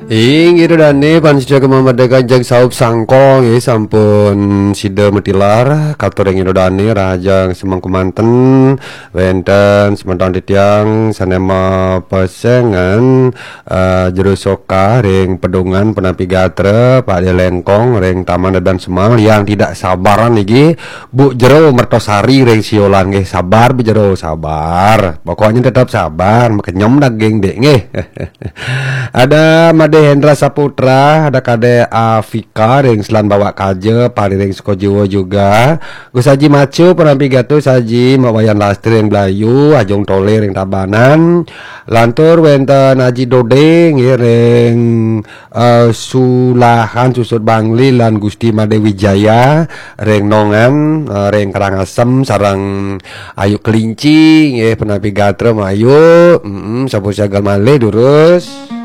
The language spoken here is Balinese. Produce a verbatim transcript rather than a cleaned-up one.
Inggih Ida dané, pamiarsa Gema Merdeka jang saup sangkong, nggih, sampun sida matilar. Katur ring Ida dané, rahajeng semeng kemanten, wénten semeton titiang sané mapesengan, eh, Jero Soka ring Pedungan, punapi gatra, Pak Dé Lengkong ring Taman Adan Semang, yang tidak sabaran niki, Bu Jero Mertosari ring Siolan, nggih, sabar Bu Jero, sabar. Pokoknya tetap sabar, makenyem daging, Dék, nggih. Ada Madé Hendra Saputra, ada Kadé Afika ring Selan Bawak Kaja, pariring Sukajiwa juga. Gus Haji Macu, punapi gatra Gus Haji, Mak Wayan Lastri ring Blayu, Ajung Tolé ring Tabanan. Lantur wénten Haji Dodé, nggih, ring, eh, Sulahan Susut Bangli lan Gusti Madé Wijaya ring Nongan, eh, ring Karangasem sareng Ayu Kelinci, nggih, punapi gatra Mak Ayu. Mm-mm, sampun sagar malih durus.